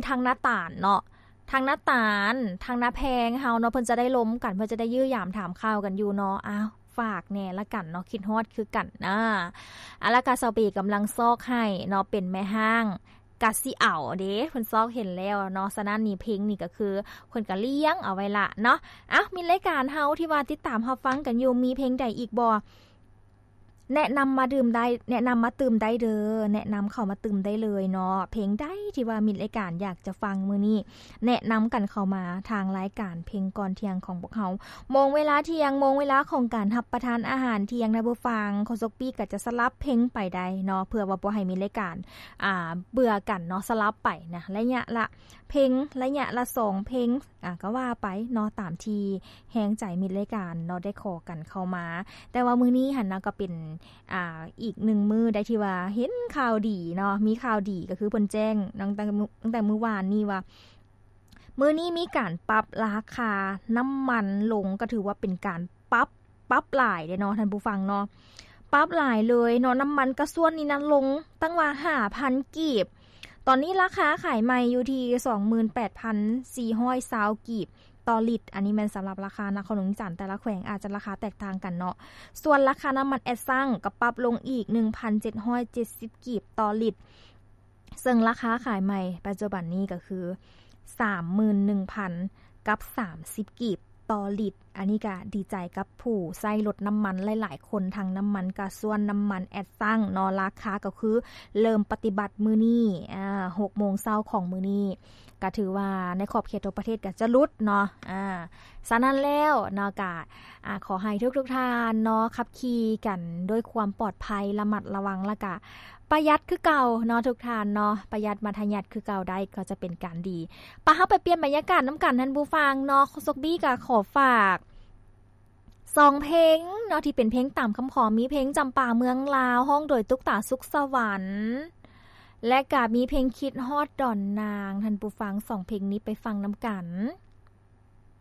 ທາງນ້າຕານເນາະ ທາງນ້າຕານ ທາງນ້າແພງເຮົາເນາະ ເພິ່ນຈະໄດ້ລົມກັນ ເພິ່ນຈະໄດ້ຢ້ຽມຢາມຖາມຂ່າວກັນຢູ່ເນາະ. ອ້າວ ຝາກແດ່ລະກັນເນາະ ຄິດຮອດຄືກັນນາ. ອາ ລະກະສາວເບກຳລັງຊອກໃຫ້ເນາະ ເປັນແມ່ຮ້າງ ກະຊິເອົາເດ້ ເພິ່ນຊອກເຫັນແລ້ວເນາະ. ສະນັ້ນນີ້ເພັງນີ້ກະຄືເພິ່ນກະລ້ຽງເອົາໄວ້ລະເນາະ. ເອົ້າ ມິດລາຍການເຮົາທີ່ວ່າຕິດຕາມຮັບຟັງກັນຢູ່ ມີເພັງໃດອີກບໍ່? ແນະນຳມາດື່ມໄດ້ ແນະນຳມາຕື່ມໄດ້ເດີ ແນະນຳເຂົ້າມາຕື່ມໄດ້ເລີຍເນາະ. ເພັງໃດທີ່ວ່າມິດລາຍການຢາກຈະຟັງມື້ນີ້ ແນະນຳກັນເຂົ້າມາທາງລາຍການເພັງກ່ອນທ່ຽງຂອງພວກເຮົາ. ໂມງເວລາທ່ຽງ ໂມງເວລາຂອງການຮັບປະທານອາຫານທ່ຽງນະ ຜູ້ຟັງ ໂຄສົກປີ້ກະຈະສະຫຼັບເພັງໄປໄດ້ເນາະ ເພື່ອວ່າບໍ່ໃຫ້ມິດລາຍການ ອ່າ ເບື່ອກັນເນາະ ສະຫຼັບໄປນະ ໄລຍະລະເພັງ ໄລຍະລະສອງເພັງ ອ່າ ກະວ່າໄປເນາະ ຕາມທີ່ແຮງໃຈມິດລາຍການເນາະ ໄດ້ຂໍກັນເຂົ້າມາ. ແຕ່ວ່າມື້ນີ້ຫັ້ນນະ ກະເປັນ ອ່າ ອີກໜຶ່ງມື້ໄດ້ທີ່ວ່າເຫັນຂ່າວດີເນາະ ມີຂ່າວດີ ກະຄືເພິ່ນແຈ້ງຕັ້ງແຕ່ ຕັ້ງແຕ່ມື້ວານນີ້ວ່າ ມື້ນີ້ມີການປັບລາຄານ້ຳມັນລົງ ກະຖືວ່າເປັນການປັບ ປັບຫຼາຍເດ້ເນາະທ່ານຜູ້ຟັງເນາະ ປັບຫຼາຍເລີຍເນາະ. ນ້ຳມັນກາຊວນນີ້ນະ ລົງຕັ້ງວ່າຫ້າພັນກີບ ຕອນນີ້ລາຄາຂາຍໃໝ່ຢູ່ທີ່ສອງໝື່ນແປດພັນສີ່ຮ້ອຍຊາວກີບຕໍ່ລິດ. ອັນນີ້ແມ່ນສຳລັບລາຄານະຄອນຫຼວງວຽງຈັນ ແຕ່ລະແຂວງອາດຈະລາຄາແຕກຕ່າງກັນເນາະ. ສ່ວນລາຄານ້ຳມັນແອັດຊັງກະປັບລົງອີກໜຶ່ງພັນເຈັດຮ້ອຍເຈັດສິບກີບຕໍ່ລິດ ເຊິ່ງລາຄາຂາຍໃໝ່ປັດຈຸບັນນີ້ກະຄືສາມໝື່ນໜຶ່ງພັນກັບສາມສິບກີບຕໍ່ລິດ. ອັນນີ້ກະດີໃຈກັບຜູ້ໃຊ້ລົດນ້ຳມັນຫຼາຍໆຄົນ ທັງນ້ຳມັນກາຊວນ ນ້ຳມັນແອັດຊັງເນາະ. ລາຄາກະຄືເລີ່ມປະຕິບັດມື້ນີ້ ອ່າ ຫົກໂມງເຊົ້າຂອງມື້ນີ້ ກະຖືວ່າໃນຂອບເຂດທົ່ວປະເທດກະຈະຫຼຸດເນາະ. ອ່າ ສະນັ້ນແລ້ວເນາະ ກະ ອ່າ ຂໍໃຫ້ທຸກໆທ່ານເນາະ ຂັບຂີ່ກັນດ້ວຍຄວາມປອດໄພ ລະມັດລະວັງ ລະກະປະຢັດຄືເກົ່າເນາະທຸກທ່ານເນາະ ປະຢັດມັດທະຍັດຄືເກົ່າໄດ້ ກະຈະເປັນການດີ. ປະ ເຮົາໄປປ່ຽນບັນຍາກາດນຳກັນທ່ານຜູ້ຟັງເນາະ. ໂຄສົກບີ້ກະຂໍຝາກສອງເພງເນາະ ທີ່ເປັນເພງຕາມຄຳຂໍ ມີເພງຈຳປາເມືອງລາວ ຮ້ອງໂດຍຕຸກຕາ ສຸກສະຫວັນ ແລະກະມີເພງຄິດຮອດດອນນາງ. ທ່ານຜູ້ຟັງ ສອງເພງນີ້ໄປຟັງນຳກັນ.